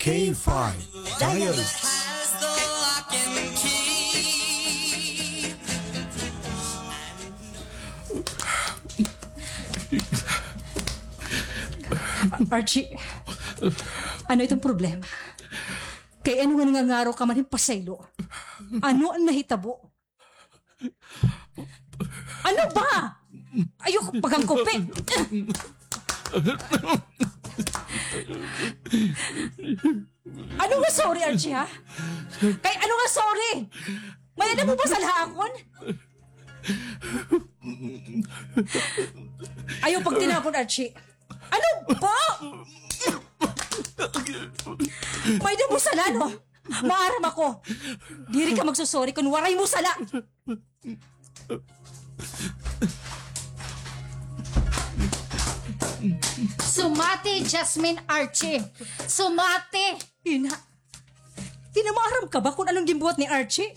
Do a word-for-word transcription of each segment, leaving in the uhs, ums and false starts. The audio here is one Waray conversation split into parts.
K five Diaries. Archie, ano iton problema? Kay ano nga nangangaro ka man hin pasaylo? Ano an nahitabo? Ano ba? Ayoko pagangkopi. Ano nga sorry, Archie, ha? Kay ano nga sorry? May-ada mo ba sala ha akon? Ayaw pagtinapon, Archie. Ano ba? May-ada mo sala, no? Maaram ako. Diri ka magsusorry kon waray mo sala. Sumati, Jasmine, Archie. Sumati. Ina. Ina, maaram ka ba kon ano an ginbuhat ni Archie?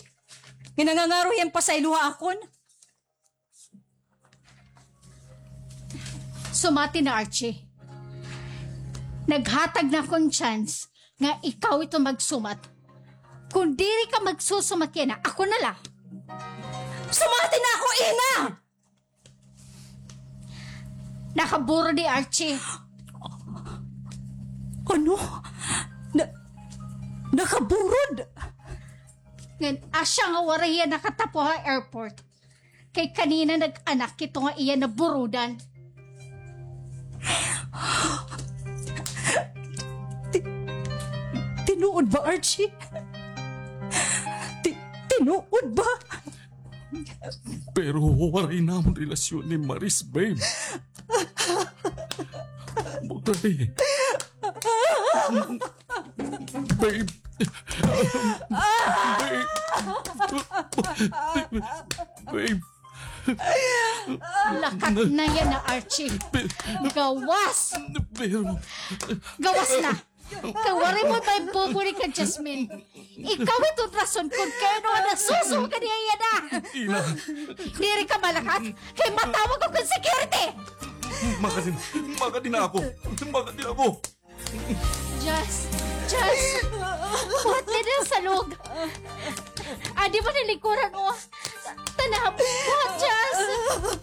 Nga nangangaro hiya hin pasaylo ha akon? Sumati na, Archie. Naghatag na ako hin chance nga ikaw iton magsumat. Kon diri ka magsusumat yana, ako na la. Sumati na ako, ina! Nakaburod hi Archie. Ano? Na, nakaburod? Ngan asya nga waray hiya nakatapo ha airport. Kay kanina nag-anak ito nga iya naburudan. Ti-, tinuod ba, Archie? Ti-, tinuod ba? Pero waray namon relasyon ni Maris, babe. Waray. Babe. Babe. Babe. Lakat na yana, Archie. Gawas! Pero... Gawas na! Kay waray mo pa ibubulig kan Jasmine. Ikaw iton rason kon kay ano nga nasuso ka niya yana. Ina. Diri ka malakat, kay matawag ako hin security. Makadi, makadi na ako. Makadi na ako. Jas, Jas. Buhat ka na sa log. Adi mo nilikuran mo. Tanap. Buhat, Jas.